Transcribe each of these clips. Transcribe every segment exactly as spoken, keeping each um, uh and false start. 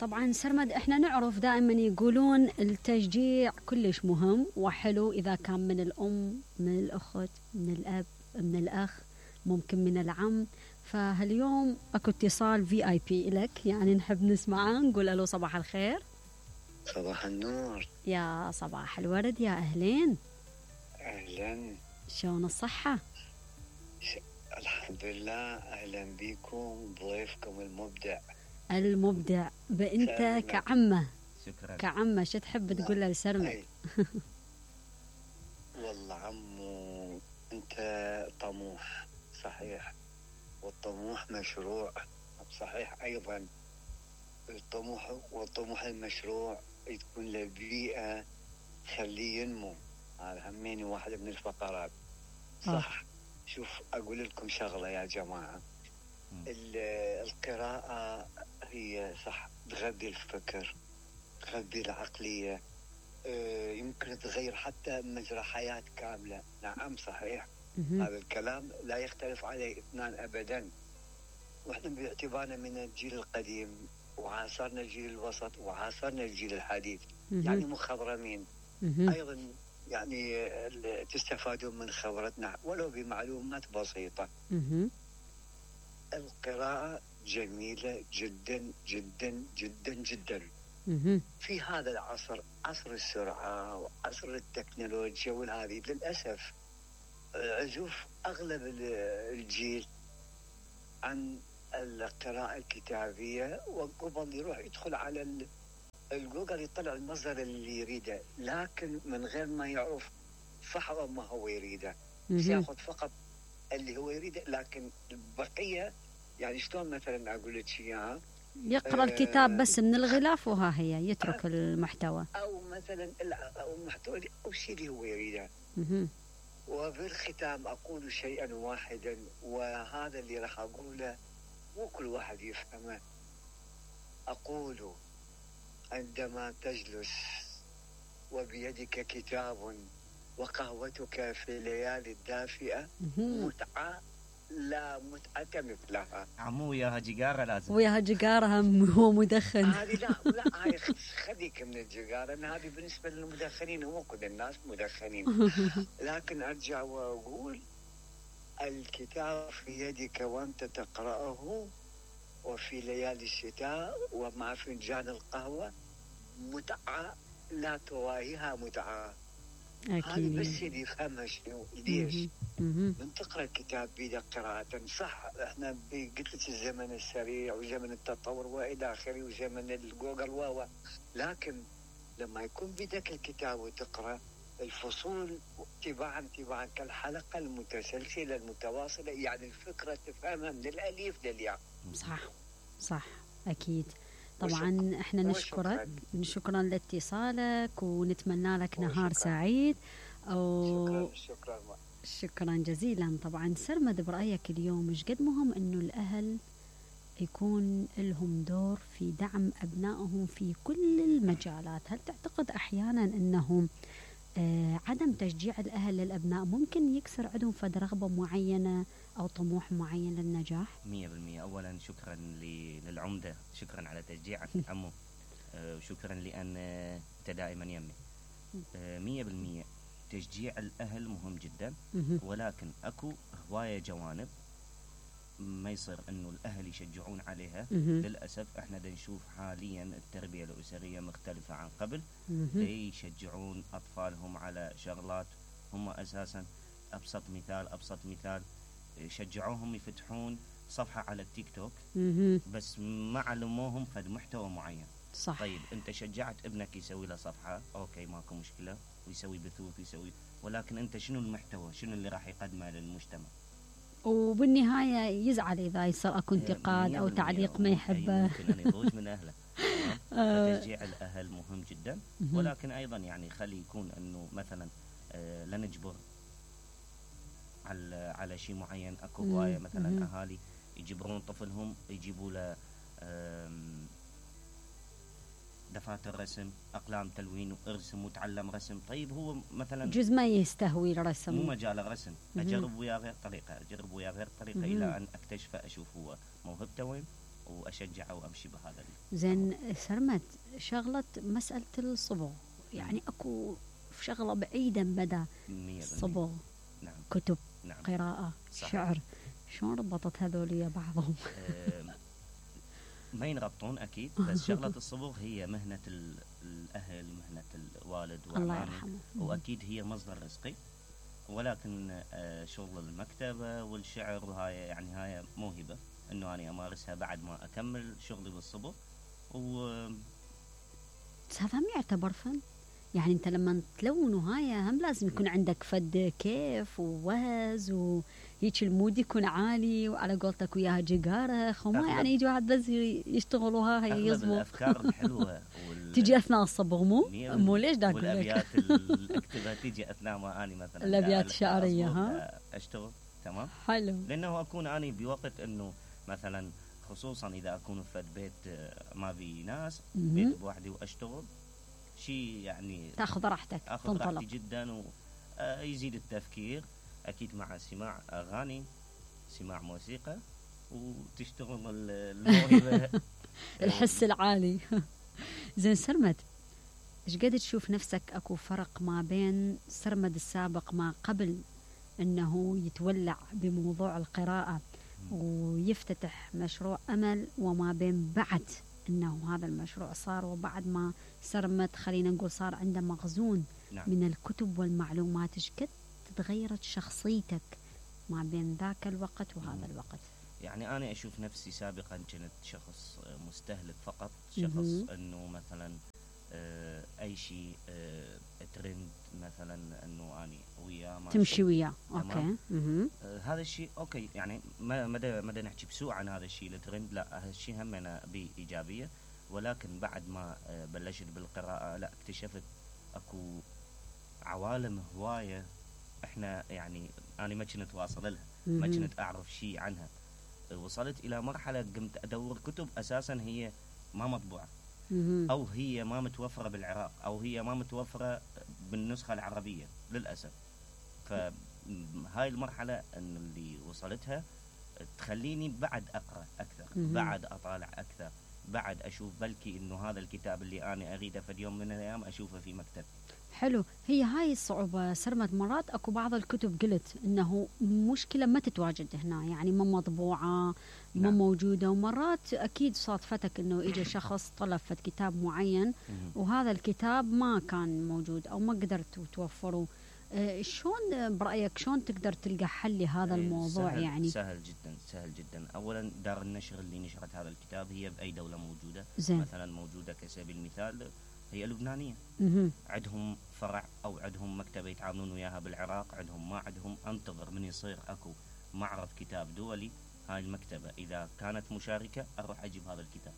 طبعا سرمد، احنا نعرف دائما يقولون التشجيع كلش مهم وحلو إذا كان من الأم، من الأخت، من الأب، من الأخ، ممكن من العم. فهاليوم اكو اتصال في اي بي لك، يعني نحب نسمعه. نقول له صباح الخير. صباح النور. يا صباح الورد، يا أهلين. أهلا. شلون الصحة؟ ش... الحمد لله. أهلا بكم ضيفكم المبدع المبدع بأنت كعمة. شكرا. كعمة شو تحب تقول له لسرمد؟ والله عمو أنت طموح صحيح، والطموح مشروع صحيح أيضا. الطموح والطموح المشروع تكون له بيئة خليه ينمو، هذا هميني واحدة من الفقرات صح. أوه. شوف أقول لكم شغلة يا جماعة، القراءة هي صح تغذي الفكر، تغذي العقلية، يمكن تغير حتى مجرى حياة كاملة. نعم صحيح. هذا الكلام لا يختلف عليه اثنان أبدا. وإحنا باعتبارنا من الجيل القديم وعاصرنا الجيل الوسط وعاصرنا الجيل الحديث، يعني مخضرمين أيضا، يعني تستفادون من خبرتنا ولو بمعلومات بسيطة. القراءة جميلة جدا جدا جدا جدا في هذا العصر، عصر السرعة وعصر التكنولوجيا والهذه. للأسف أشوف أغلب الجيل عن القراءة الكتابية، وقبل يروح يدخل على الجوجل يطلع المصدر اللي يريده، لكن من غير ما يعرف فحوى ما هو يريده، ياخذ فقط اللي هو يريده، لكن البقية يعني شلون مثلا أقول لك إياها، يقرأ الكتاب بس من الغلاف وها هي يترك المحتوى، أو مثلا أو المحتوى أو الشيء اللي هو يريده. وبالختام أقول شيئا واحدا، وهذا اللي راح أقوله مو كل واحد يفهمه. أقول عندما تجلس وبيدك كتاب وقهوتك في الليالي الدافئة متعة لا متعة مثلها. عمو وياها جيجارة لازم، وياها جيجارة هم هو مدخن. هذه لا لا هاي خليك من الجيجارة، هذه بالنسبة للمدخنين، هو كل الناس مدخنين. لكن أرجع وأقول الكتاب في يدك وأنت تقرأه وفي ليالي الشتاء ومع فنجان القهوة متعة لا تواهيها متعة. هذا بس اللي يفهمها شنو ليش من تقرأ الكتاب بيدك قراءة صح. احنا قلت لك الزمن السريع وزمن التطور والى اخره وزمن الجوجل واوا، لكن لما يكون بيدك الكتاب وتقرأ الفصول تباعا تباعا كالحلقة المتسلسلة المتواصلة، يعني الفكرة تفهمها من الألف للياء. صح صح أكيد. طبعا احنا نشكرك، شكرا لاتصالك ونتمنى لك نهار سعيد. أو شكرا شكرا شكرا جزيلا. طبعا سرمد، برأيك اليوم ايش قد مهم انه الاهل يكون لهم دور في دعم ابنائهم في كل المجالات؟ هل تعتقد احيانا انهم آه عدم تشجيع الاهل للابناء ممكن يكسر عندهم فد رغبة معينة او طموح معين للنجاح؟ مية بالمية. اولا شكرا للعمدة، شكرا على تشجيعك عمو، وشكرا لان انت دائما يمي. مية بالمية تشجيع الاهل مهم جدا، ولكن اكو هواية جوانب ما يصير انه الاهل يشجعون عليها. للاسف احنا دا نشوف حاليا التربية الاسرية مختلفة عن قبل، يشجعون اطفالهم على شغلات هم اساسا. ابسط مثال ابسط مثال شجعوهم يفتحون صفحة على التيك توك بس ما علموهم فد محتوى معين. صح. طيب انت شجعت ابنك يسوي له صفحة، اوكي ماكو مشكلة، ويسوي بثوث يسوي، ولكن انت شنو المحتوى، شنو اللي راح يقدمه للمجتمع؟ وبالنهاية يزعل إذا يصير أكو انتقاد أو تعليق ما يحبه، ممكن أن يضوج من أهله. فتشجيع الأهل مهم جدا، ولكن أيضا يعني خلي يكون أنه مثلا آه لا نجبر على على شيء معين. أكو هواية مثلا أهالي يجبرون طفلهم يجيبوا له دفاتر رسم، أقلام تلوين، وارسم وتعلم رسم. طيب هو مثلا جزء ما يستهوي الرسم، مو مجال الرسم، أجرب وياه غير طريقة، أجرب وياه غير طريقة إلى أن أكتشف أشوف هو موهبته وين واشجعه وامشي بهذا. زين سرمد، شغله مساله الصبغ، يعني اكو شغله بعيدا بدا صبغ، نعم. كتب، نعم. قراءه، صحيح. شعر، شلون ربطت هذول بعضهم؟ ما ينربطون اكيد، بس شغله الصبغ هي مهنه الاهل، مهنه الوالد الله يرحمه، واكيد هي مصدر رزقي، ولكن شغل المكتبه والشعر وهاي يعني هاي موهبه انه انا امارسها بعد ما اكمل شغلي بالصبغ. و هذا هم يعتبر فن، يعني انت لما تلون وهاي هم لازم يكون عندك فد كيف ووهز وهيك المود يكون عالي، وعلى قولتك وياها جقارخ، وما يعني يجي واحد بس يشتغلوا هاي يصبغ. اغلب الافكار الحلوه وال... تجي اثناء الصبغ، مو مو ليش داك والابيات اللي اكتبها تجي اثناء ما اني مثلا الابيات الشعريه ها اشتغل. تمام، حلو، لانه اكون اني بوقت انه مثلا خصوصا اذا اكون في بيت ما في ناس، بيت بوحدي واشتغل شيء يعني تاخذ راحتك، اخذ راحتي جدا ويزيد التفكير، اكيد مع سماع اغاني، سماع موسيقى، وتشتغل الموهبه الحس العالي. زين سرمد، ايش قد تشوف نفسك اكو فرق ما بين سرمد السابق ما قبل انه يتولع بموضوع القراءه ويفتتح مشروع امل، وما بين بعد انه هذا المشروع صار وبعد ما سرمد خلينا نقول صار عنده مخزون نعم. من الكتب والمعلومات، ايش قد تغيرت شخصيتك ما بين ذاك الوقت وهذا الوقت؟ يعني انا اشوف نفسي سابقا كنت شخص مستهلك فقط، شخص انه مثلا اي شيء ترند مثلا انه اني وياه تمشي وياه، اوكي. آه هذا الشيء اوكي، يعني ما ما ما نحكي بسوء عن هذا الشيء الترند، لا هذا الشيء هم انا بايجابيه، ولكن بعد ما بلشت بالقراءه لا اكتشفت اكو عوالم هوايه احنا يعني انا ما كنت واصل لها، ما كنت اعرف شيء عنها. وصلت الى مرحله قمت ادور كتب اساسا هي ما مطبوعه، او هي ما متوفره بالعراق، او هي ما متوفره بالنسخه العربيه للاسف. فهاي المرحله ان اللي وصلتها تخليني بعد اقرا اكثر، بعد اطالع اكثر، بعد اشوف بلكي انه هذا الكتاب اللي انا اريده في يوم من الايام اشوفه في مكتب. حلو، هي هاي الصعوبة سرمد. مرات اكو بعض الكتب قلت انه مشكلة ما تتواجد هنا، يعني ما مطبوعة، ما نعم. موجودة، ومرات اكيد صادفتك انه اجى شخص طلب فد كتاب معين وهذا الكتاب ما كان موجود او ما قدرتوا توفروا. آه شلون برأيك شلون تقدر تلقى حل لهذا الموضوع؟ سهل يعني سهل جدا، سهل جدا. اولا دار النشر اللي نشرت هذا الكتاب هي باي دولة موجودة؟ زين. مثلا موجودة كسبيل المثال هي لبنانية، عندهم فرع او عندهم مكتبة يتعاملون وياها بالعراق، عندهم ما عندهم، انتظر من يصير اكو معرض كتاب دولي، هاي المكتبة اذا كانت مشاركة اروح اجيب هذا الكتاب.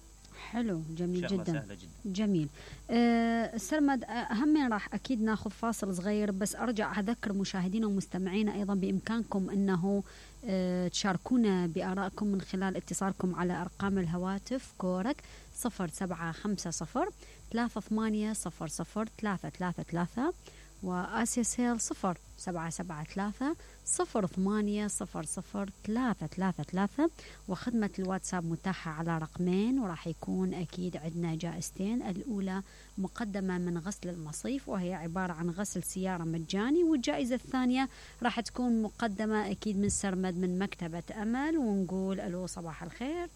حلو، جميل جدا. سهلة جدا. جميل. أه سرمد، همين راح اكيد ناخذ فاصل صغير، بس ارجع اذكر مشاهدينا ومستمعينا ايضا بامكانكم انه أه تشاركونا بارائكم من خلال اتصالكم على ارقام الهواتف كورك صفر سبعة خمسة صفر ثلاثة ثمانية صفر صفر ثلاثة ثلاثة ثلاثة، وآسيا سيل صفر سبعة سبعة ثلاثة صفر ثمانية صفر صفر ثلاثة ثلاثة ثلاثة، وخدمة الواتساب متاحة على رقمين، وراح يكون أكيد عندنا جائزتين. الأولى مقدمة من غسل المصيف وهي عبارة عن غسل سيارة مجاني، والجائزة الثانية راح تكون مقدمة أكيد من سرمد من مكتبة أمل. ونقول ألو صباح الخير.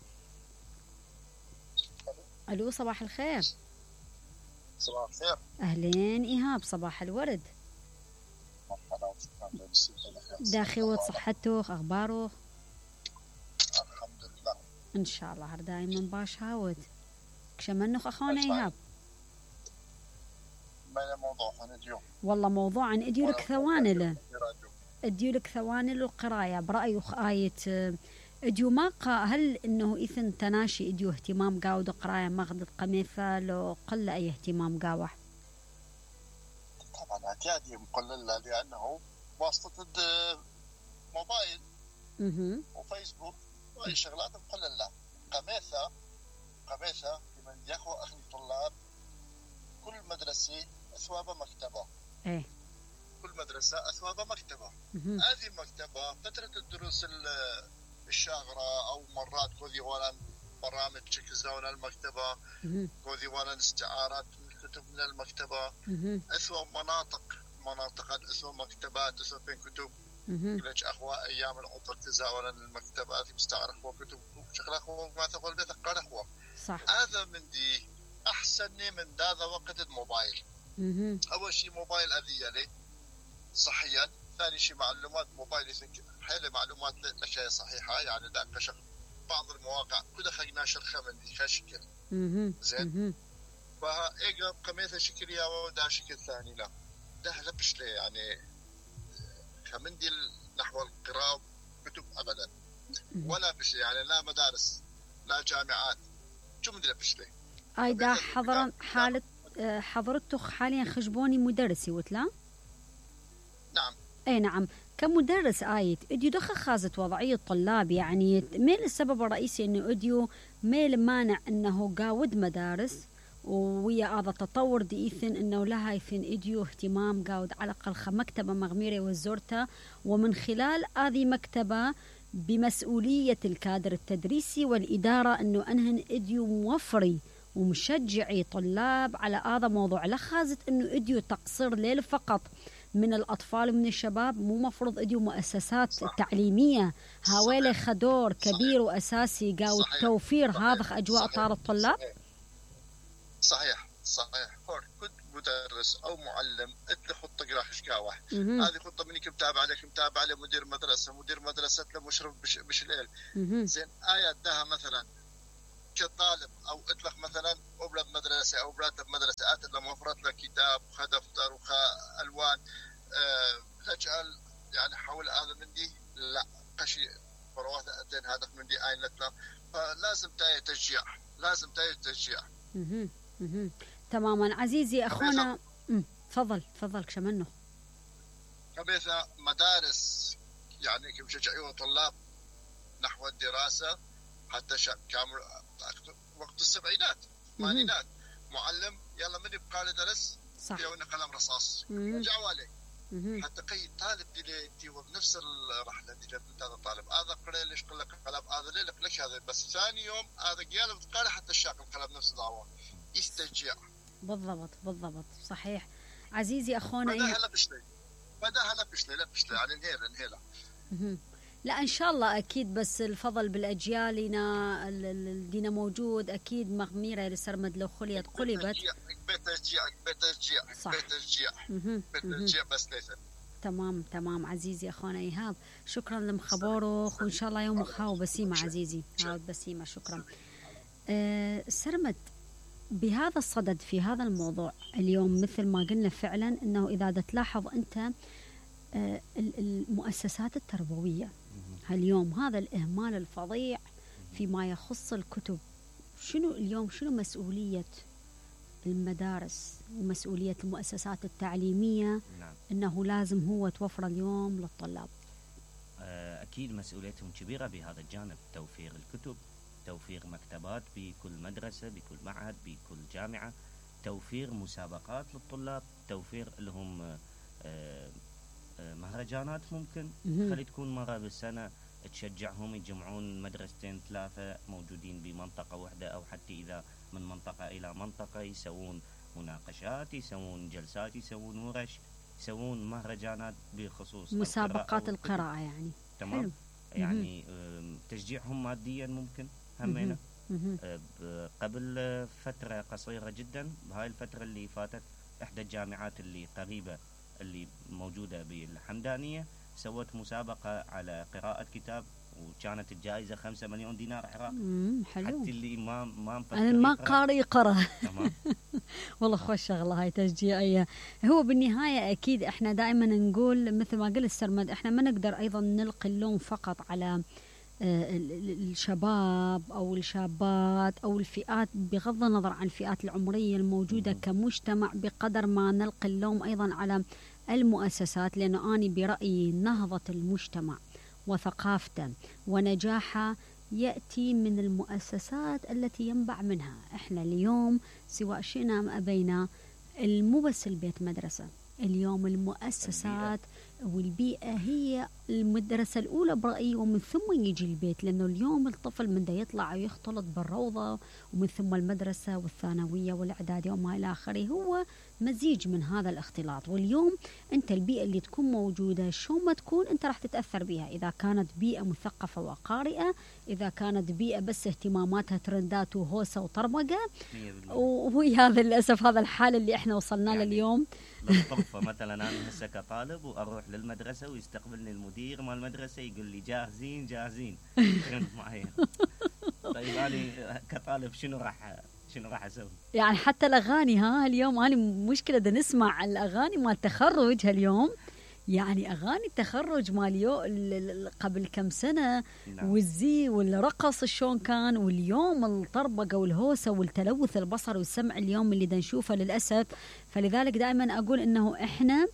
ألو صباح الخير. صباح الخير. أهلين إيهاب، صباح الورد. داخي وصحته أخباره؟ الحمد لله إن شاء الله هر دايما باش هاود كشمنخ أخونا إيهاب. ما موضوع عن اليوم؟ والله موضوع عن إديولك ثواني له إديولك ثواني للقراية برأي آية إديو ما قا هل إنه إثن تناشي إديو اهتمام قاود قراية مغد قميثة لو قل أي اهتمام قاوح؟ طبعا اعتيادي مقلل لأنه واسطة موبايل وفيسبوك وأي شغلات مقللة. قميثة قميثة لمن يخو أخي الطلاب كل مدرسة أثواب مكتبة. إيه. كل مدرسة أثواب مكتبة. هذه مكتبة فترة الدروس الشاغرة أو مرات كذي ولا برامج كزاون المكتبة وديوان استعارات الكتب من المكتبة أسوأ مناطق مناطق أسوأ مكتبات أسوأ بين كتب ليش أخوة أيام العطر تزاون المكتبات مستعار أخوة كتب شغل أخوة ما تقول بيتقال أخوة صح. هذا من دي أحسن من هذا وقت الموبايل. أول شيء موبايل أذية لي صحيا، ثاني شيء معلومات موبايل حيل معلومات الأشياء صحيحة يعني ذاك شغل بعض المواقع كده خلينا نشرخها من دي شكل زين فإيجا قميثة شكل يا وده شكل ثاني لا ده لبش لي يعني كمندي نحو القراءة كتب أبدا ولا بش يعني لا مدارس لا جامعات شو مدري بش لي أيضا حضرا حالة حضرتك حاليا خجبوني مدرسي وتلا؟ نعم. أي نعم. كمدرس آيت أديو دخل خازت وضعية الطلاب يعني ميل السبب الرئيسي إنه أديو ميل مانع إنه قاود مدارس ويا هذا التطور ديثن إنه لها يثن أديو اهتمام قاود على الأقل مكتبة مغميرة وزورتها ومن خلال هذه مكتبة بمسؤولية الكادر التدريسي والإدارة إنه أنهن أديو موفري ومشجعي طلاب على هذا موضوع لخازت إنه أديو تقصير ليل فقط من الأطفال ومن الشباب مو مفروض أديو مؤسسات صح. تعليمية هاويلة خدور كبير وأساسي قاو التوفير هذا أجواء طار الطلاب صحيح صحيح كنت مدرس أو معلم أنت خطة قراح شقاوة هذه خطة منك متابعة عليك متابعة على مدير مدرسة مدير مدرسة لمشرف بش, بش الليل زين آيات دها مثلا كطالب أو اطلق مثلا أولاد مدرسة أو أولاد مدرسة آت لما وفرت له كتاب وخا دفتر وخا ألوان أه لجأل يعني حول هذا من دي لا قشي فروات أدين هدف من دي آين لتلا فلازم تاي تشجيع لازم تاي تشجيع تماما عزيزي أخونا تفضل تفضل كشمنه كبيثة مدارس يعني كم شجعوا طلاب نحو الدراسة حتى شا كامل وقت السبعينات الثمانينات معلم يلا من يبقى له درس صح يونا قلم رصاص رجعوا عليه حتى قي طالب دي دي بنفس الرحله دي جاب هذا الطالب هذا قرأ ليش قال لك قلم هذا ليه لك ليش هذا بس ثاني يوم هذا قال قال حتى الشاق القلم نفس الدعوه يسترجع بالضبط بالضبط صحيح عزيزي اخونا بدها هلا بشلي بدها هلا بشلي لا بشلي يعني انهيلا انهيلا لا إن شاء الله أكيد بس الفضل بالأجيالنا الدينا موجود أكيد مغميرة لسرمد لو خليت قلبت بتشجيع بتشجيع بتشجيع بتشجيع بس ليس تمام تمام عزيزي أخونا إيهاب شكرا لمخبارك وإن شاء الله يوم خاو بسيمة عزيزي هاود بسيمة شكرا أه سرمد بهذا الصدد في هذا الموضوع اليوم مثل ما قلنا فعلا أنه إذا تلاحظ أنت أه المؤسسات التربوية اليوم هذا الإهمال الفظيع فيما يخص الكتب شنو اليوم شنو مسؤولية المدارس ومسؤولية المؤسسات التعليمية نعم. أنه لازم هو توفر اليوم للطلاب أكيد مسؤوليتهم كبيرة بهذا الجانب توفير الكتب توفير مكتبات بكل مدرسة بكل معهد بكل جامعة توفير مسابقات للطلاب توفير لهم مهرجانات ممكن خلي تكون مرة بالسنة تشجعهم يجمعون مدرستين ثلاثة موجودين بمنطقة واحدة أو حتى إذا من منطقة إلى منطقة يسوون مناقشات يسوون جلسات يسوون ورش يسوون مهرجانات بخصوص مسابقات القراءة, القراءة يعني تمام حلو. يعني تشجيعهم ماديا ممكن همينة قبل فترة قصيرة جدا بهاي الفترة اللي فاتت إحدى الجامعات اللي قريبة اللي موجودة بالحمدانية سوت مسابقة على قراءة كتاب وكانت الجائزة خمسة مليون دينار عراقي حلو حتى اللي ما ما أنا ما قارئ يقرأ تمام والله خوش شغلة هاي تشجيعية هو بالنهاية أكيد إحنا دائما نقول مثل ما قلت السرمد إحنا ما نقدر أيضا نلقي اللوم فقط على الشباب أو الشابات أو الفئات بغض النظر عن الفئات العمرية الموجودة كمجتمع بقدر ما نلقي اللوم أيضا على المؤسسات لأنه أنا برأيي نهضة المجتمع وثقافته ونجاحه يأتي من المؤسسات التي ينبع منها إحنا اليوم سواء شئنا أم أبينا مو بس البيت مدرسة اليوم المؤسسات والبيئة هي المدرسة الأولى برأيي، ومن ثم يجي البيت، لأنه اليوم الطفل من دا يطلع ويختلط بالروضة، ومن ثم المدرسة والثانوية والإعدادية وما إلى آخره، هو مزيج من هذا الاختلاط. واليوم أنت البيئة اللي تكون موجودة شو ما تكون أنت راح تتأثر بها، إذا كانت بيئة مثقفة وقارئة، إذا كانت بيئة بس اهتماماتها ترندات وهوسة وطرمقة، وهي هذا للأسف هذا الحال اللي احنا وصلنا له اليوم. بالطرفة مثلا أنا هسه كطالب وأروح للمدرسة ويستقبلني المدير مال المدرسة يقول لي جاهزين جاهزين معين. طيب أنا كطالب شنو راح شنو راح أسوي؟ يعني حتى الأغاني، ها اليوم أنا مشكلة دا نسمع الأغاني مال تخرج هاليوم، يعني أغاني التخرج ماليو قبل كم سنة، نعم. والزي والرقص شلون كان، واليوم الطربقة والهوسة والتلوث البصري والسمع اليوم اللي دا نشوفه للأسف. فلذلك دائما أقول إنه إحنا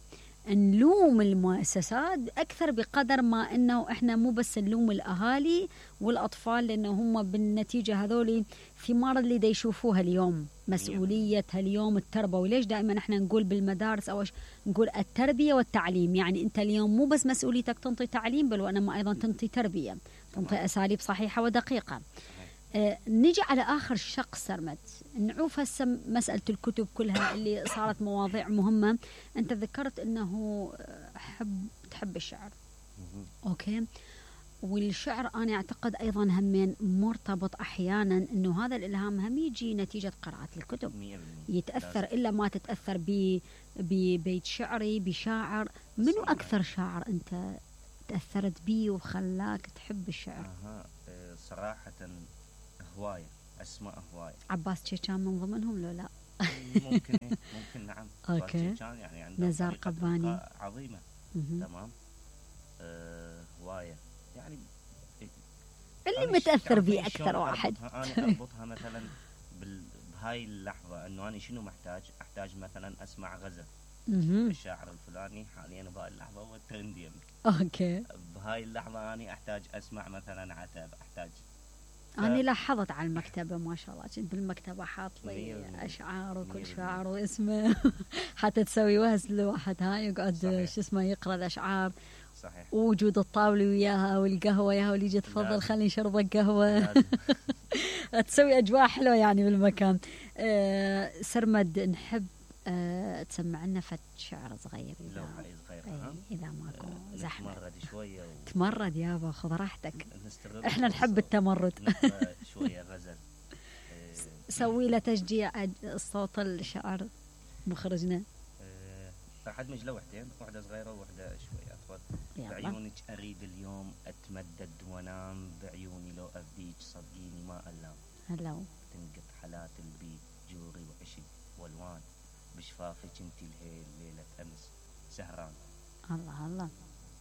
نلوم المؤسسات أكثر بقدر ما إنه إحنا مو بس نلوم الأهالي والأطفال، لأنه هم بالنتيجة هذول ثمار اللي دا يشوفوها اليوم، مسؤوليتها اليوم التربوي. ليش دائما إحنا نقول بالمدارس أو نقول التربية والتعليم؟ يعني أنت اليوم مو بس مسؤوليتك تنطي تعليم، بل وأنما أيضا تنطي تربية، تنطي أساليب صحيحة ودقيقة. آه نجي على آخر شق سرمد، نعوف هسه مسألة الكتب كلها اللي صارت مواضيع مهمة. أنت ذكرت أنه حب تحب الشعر، أوكي، والشعر أنا أعتقد أيضا همين مرتبط أحيانا أنه هذا الإلهام هم يجي نتيجة قراءة الكتب، يتأثر إلا ما تتأثر ببيت شعري بشاعر. منو أكثر شاعر أنت تأثرت بيه وخلاك تحب الشعر؟ أها صراحة هواية أسماء هواية. عباس شيشان من ضمنهم لو لا؟ ممكن ممكن نعم. أوكي. يعني عنده نزار قباني عظيمة. م- تمام. أه هواية يعني اللي متأثر بيه أكثر واحد. أنا أربطها مثلا بهاي اللحظة إنه أنا شنو محتاج؟ أحتاج مثلا أسمع غزل الشاعر الفلاني حاليا بهاي اللحظة هو الترندي. أوكي. بهاي اللحظة أنا أحتاج أسمع مثلا عتب، أحتاج ف... أنا لاحظت على المكتبة ما شاء الله، كنت بالمكتبة حاط لي أشعار وكل شاعر واسمه حتى تسوي وهز لواحد هاي يقعد شو اسمه يقرأ الأشعار. صحيح. ووجود الطاولة وياها والقهوة وياها، واللي يجي تفضل خليني شربك قهوة تسوي أجواء حلوة يعني بالمكان. أه سرمد نحب أه تسمع لنا فت شعر صغير إذا لو حي صغير ها؟ إذا ماكو أه زحمة. تمرد شوية و... تمرد يابا خذ راحتك، احنا نحب التمرد. شوية غزل. أه سوي له تشجيع الصوت الشعر مخرجنا. أه راح أدمج لوحدين، واحدة صغيرة وواحدة شوية أطول. بعيونك أريد اليوم أتمدد وأنام، بعيوني لو أفديك صدقيني ما ألام. هلو تنقط حالات البيت جوري وعشق والوان، بشفافك انتي الهيل ليلة أمس سهران. الله الله.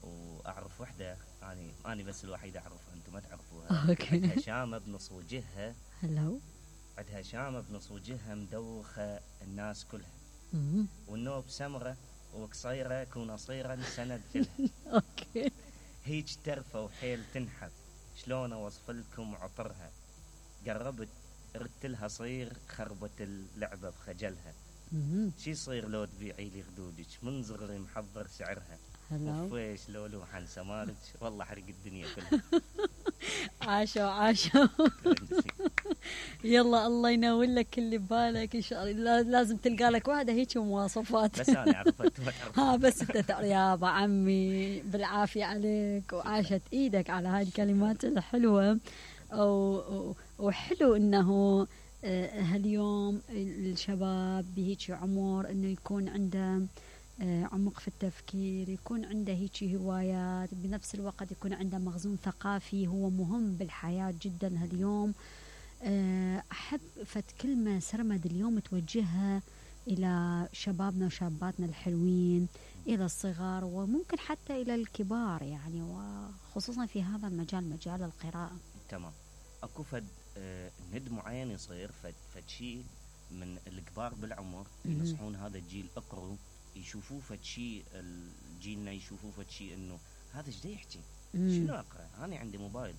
وأعرف وحدة أنا أنا بس الوحيدة أعرفها أنتم ما تعرفوها. عندها شامة بنص وجهها. هلو. عندها شامة بنص وجهها مدوخة الناس كلها. مم. والنوب سمرة وقصيرة كون صيرا سند لها. أوكي. هيج ترفة وحيل تنحف، شلون أوصف لكم عطرها؟ قربت ردت لها صير، خربت اللعبة بخجلها. شي يصير لو تبيعي لي خدودك، من صغري محضر سعرها. وفيش لو لوحن سمارك، والله حرق الدنيا كلها. عاشوا عاشوا. يلا الله ينور لك اللي ببالك ان شاء الله. لازم تلقى لك واحده هيك مواصفات. بس انا عرفت ها بس انت تعرف يا ابا عمي بالعافيه عليك، وعاشت ايدك على هاي الكلمات الحلوه. وحلو انه هاليوم الشباب بهيك عمر انه يكون عنده عمق في التفكير، يكون عنده هيك هوايات، بنفس الوقت يكون عنده مخزون ثقافي هو مهم بالحياة جدا هاليوم. أحب فت كلمة سرمد اليوم توجهها إلى شبابنا وشاباتنا الحلوين، إلى الصغار وممكن حتى إلى الكبار يعني، وخصوصا في هذا المجال مجال القراءة. تمام. أكو فد آه ند معين يصير فد فد شيء من الكبار بالعمر ينصحون هذا الجيل اقروا، يشوفوه فد شيء الجيلنا يشوفوه فد شيء انه هذا ايش دا يحكي؟ شنو اقرا؟ انا عندي موبايل،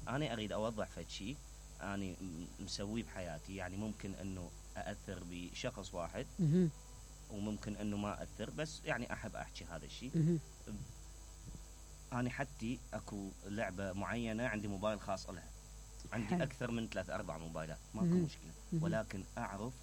انا اريد اوضح فد شيء انا مسويه بحياتي، يعني ممكن انه ااثر بشخص واحد وممكن انه ما اثر، بس يعني احب احكي هذا الشيء انا حتى اكو لعبه معينه عندي موبايل خاص لها، عندي حلو. اكثر من ثلاث اربع موبايلات ماكو مهم. مشكله، مهم. ولكن اعرف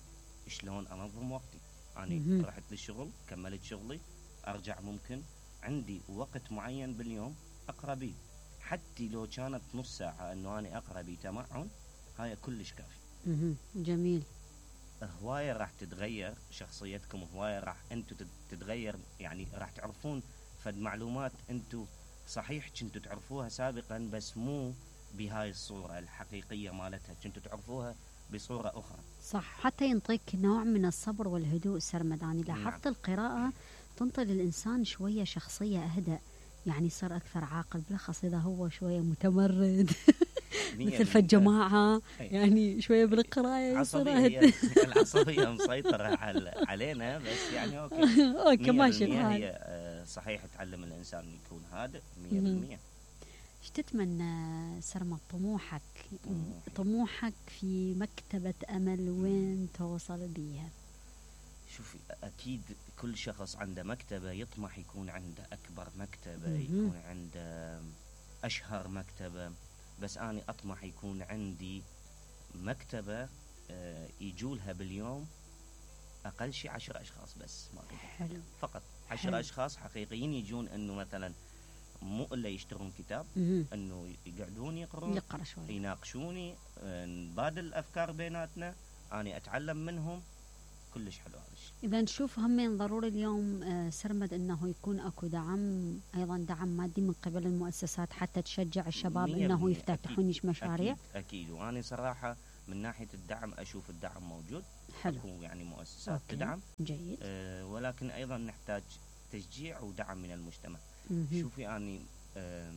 شلون انظم وقتي. مهم. انا رحت للشغل، كملت شغلي، ارجع ممكن عندي وقت معين باليوم اقرا بيه، حتى لو كانت نص ساعه انه انا اقرا بيه تمعن، هاي كلش كافي. مهم. جميل. هوايه راح تتغير شخصيتكم، هوايه راح انتم تتغير، يعني راح تعرفون فد معلومات انتم صحيح كنتوا تعرفوها سابقا بس مو بهاي الصوره الحقيقيه مالتها، كنتوا تعرفوها بصوره اخرى. صح، حتى ينطيك نوع من الصبر والهدوء سرمد. يعني لاحظت نعم. القراءة تنطي للإنسان شوية شخصية أهدأ، يعني يصير أكثر عاقل، بالأخص إذا هو شوية متمرد مثل في الجماعة، يعني شوية بالقراءة يصير عصبية، أهدأ. العصبية مسيطرة على علينا، بس يعني أوكي أوكي ماشي مية بالمية الحال. هي آه، صحيح تعلم الإنسان يكون هادئ مية بالمية. ايش تتمنى سرمد طموحك؟ طموحي. طموحك في مكتبة أمل وين توصل بيها؟ شوفي، أكيد كل شخص عنده مكتبة يطمح يكون عنده أكبر مكتبة، مهم. يكون عنده أشهر مكتبة، بس أنا أطمح يكون عندي مكتبة آه، يجولها باليوم أقل شيء عشر أشخاص بس، ما أكثر. حلو. فقط حلو. عشر أشخاص حقيقيين يجون، إنه مثلا مو إلا يشترون كتاب، مهم. إنه يقعدون يقرون، نقرأ شوي. يناقشوني، آه، نبادل الأفكار بيناتنا، أنا أتعلم منهم. كلش حلو هذا الشيء. إذا نشوف همين ضروري اليوم آه، سرمد أنه يكون أكو دعم، أيضا دعم مادي من قبل المؤسسات حتى تشجع الشباب مية أنه بالمية. يفتتحون أكيد. مشاريع. أكيد, أكيد. وأنا صراحة من ناحية الدعم أشوف الدعم موجود. حلو. أكو يعني مؤسسات أوكي. تدعم، جيد. أه ولكن أيضا نحتاج تشجيع ودعم من المجتمع. مهم. شوفي أني أه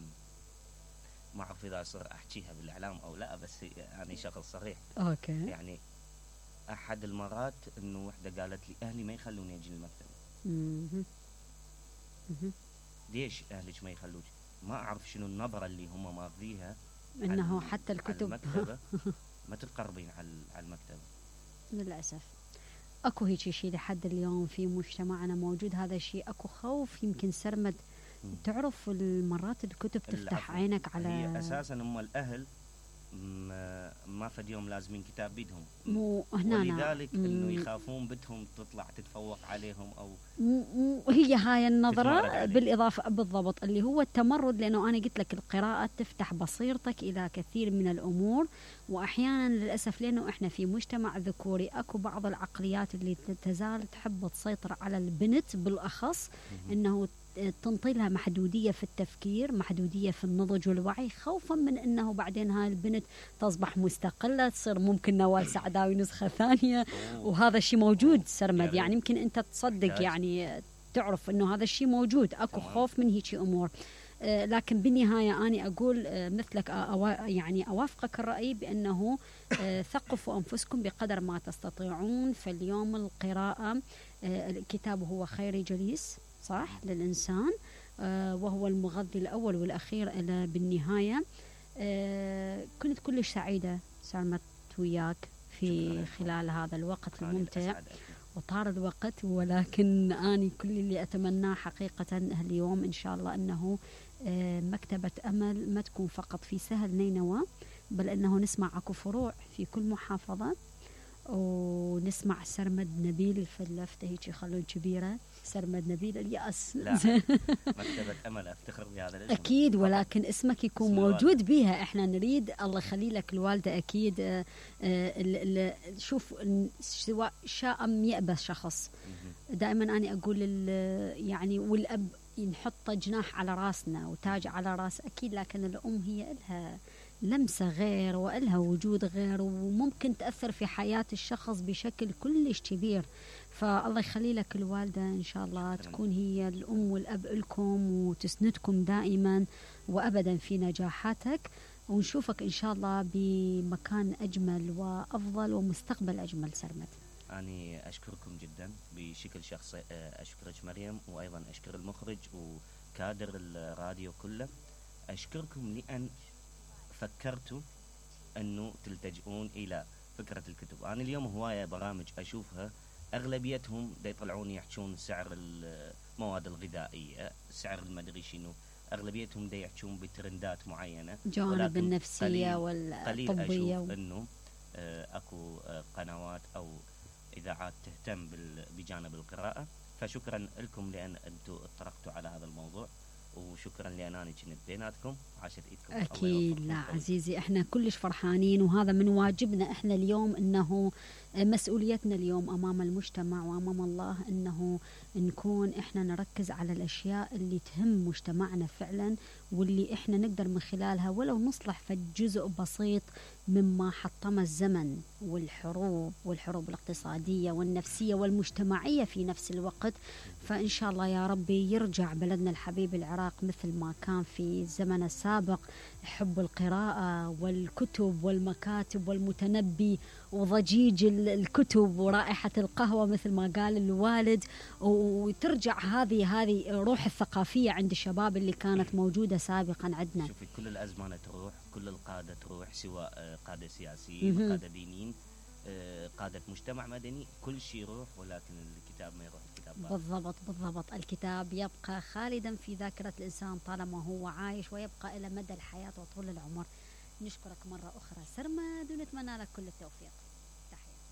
ما أعرف إذا أصير أحكيها بالإعلام أو لا، بس أنا شخص صريح. أوكي. يعني أحد المرات إنه وحدة قالت لي أهلي ما يخلوني أجي المكتبة. مهم. مهم. ليش أهلك ما يخلوك؟ ما أعرف شنو النظرة اللي هم ماخذيها، أنه على- حتى على الكتب المكتبة ما تقربين على على المكتبة. للأسف أكو هيك شيء لحد اليوم في مجتمعنا موجود هذا الشيء. أكو خوف يمكن سرمد. مم. تعرف المرات الكتب تفتح العفو. عينك على هي أساسا هم الأهل ما, ما فد يوم لازمين كتاب بيدهم، مو هنا ولذلك إنه مم. يخافون بنتهم تطلع تتفوق عليهم أو مو مو هي هاي تتمرد النظرة عليه. بالإضافة بالضبط اللي هو التمرد، لأنه أنا قلت لك القراءة تفتح بصيرتك إلى كثير من الأمور، وأحيانا للأسف لأنه إحنا في مجتمع ذكوري أكو بعض العقليات اللي تزال تحب تسيطر على البنت بالأخص، إنه تنطي لها محدودية في التفكير، محدودية في النضج والوعي، خوفا من أنه بعدين هاي البنت تصبح مستقلة، تصير ممكن نوال سعداوي نسخة ثانية. أوه. وهذا الشيء موجود سرمد، يعني يعني يمكن أنت تصدق، يحتاج. يعني تعرف أنه هذا الشيء موجود، أكو تمام. خوف من هيك أمور. آه لكن بالنهاية أنا أقول آه مثلك أو يعني أوافقك الرأي بأنه آه ثقفوا أنفسكم بقدر ما تستطيعون. فاليوم القراءة آه الكتاب هو خير جليس صح للإنسان، آه وهو المغذي الأول والأخير إلى بالنهاية. آه كنت كلش سعيدة سلمت وياك في شكراً. خلال هذا الوقت أنا الممتع، الأسعد أكيد. وطار الوقت، ولكن أنا كل اللي أتمناه حقيقة اليوم إن شاء الله أنه آه مكتبة أمل ما تكون فقط في سهل نينوى، بل أنه نسمع أكو فروع في كل محافظة، ونسمع سرمد نبيل في اللفتة هيك يخلون كبيرة، سرمد نبيل اليأس. لا مكتبة أمل أفتخر بهذا الاسم أكيد، فقط. ولكن اسمك يكون اسم موجود الوالدة. بيها. احنا نريد الله يخلي لك الوالدة أكيد. آه، آه، ال- ال- شوف ن- سواء شاء أم يأبى شخص، مهم. دائما أنا أقول ال- يعني والأب نحط جناح على راسنا وتاج على راس أكيد، لكن الأم هي إلها لمسة غير وإلها وجود غير، وممكن تأثر في حياة الشخص بشكل كلش كبير. فالله يخلي لك الوالدة إن شاء الله شكراً. تكون هي الأم والأب لكم وتسندكم دائما وأبدا في نجاحاتك، ونشوفك إن شاء الله بمكان أجمل وأفضل ومستقبل أجمل سرمد. أنا أشكركم جدا بشكل شخصي، أشكرك مريم، وأيضا أشكر المخرج وكادر الراديو كله. أشكركم لأن فكرتوا أنه تلتجئون إلى فكرة الكتب. أنا اليوم هواية برامج أشوفها أغلبيتهم دا يطلعون يحجون سعر المواد الغذائية، سعر المدري شنو، اغلبيتهم دا يحجون بترندات معينه، جوانب النفسيه قليل والطبيه قليل اشوف و... انه آه اكو آه قنوات او اذاعات تهتم بجانب القراءه. فشكرا لكم لان انتم اطرقتوا على هذا الموضوع، وشكرا لانني كنت بيناتكم. عاشت ايدكم. اكيد. لا عزيزي، احنا كلش فرحانين، وهذا من واجبنا احنا اليوم، انه مسؤوليتنا اليوم امام المجتمع وامام الله انه نكون احنا نركز على الاشياء اللي تهم مجتمعنا فعلا، واللي احنا نقدر من خلالها ولو نصلح فجزء بسيط مما حطم الزمن والحروب والحروب الاقتصادية والنفسية والمجتمعية في نفس الوقت. فإن شاء الله يا ربي يرجع بلدنا الحبيب العراق مثل ما كان في الزمن السابق، حب القراءة والكتب والمكاتب والمتنبي وضجيج الكتب ورائحة القهوة مثل ما قال الوالد، وترجع هذه هذه روح الثقافية عند الشباب اللي كانت موجودة سابقا عندنا. شوفي كل الأزمنة تروح، كل القادة تروح، سواء قادة سياسيين، قادة دينيين، قادة مجتمع مدني، كل شيء يروح، ولكن الكتاب ما يروح. الكتاب بقى. بالضبط بالضبط. الكتاب يبقى خالدا في ذاكرة الإنسان طالما هو عايش، ويبقى إلى مدى الحياة وطول العمر. نشكرك مرة أخرى سرمد، ونتمنى لك كل التوفيق. تحياتي.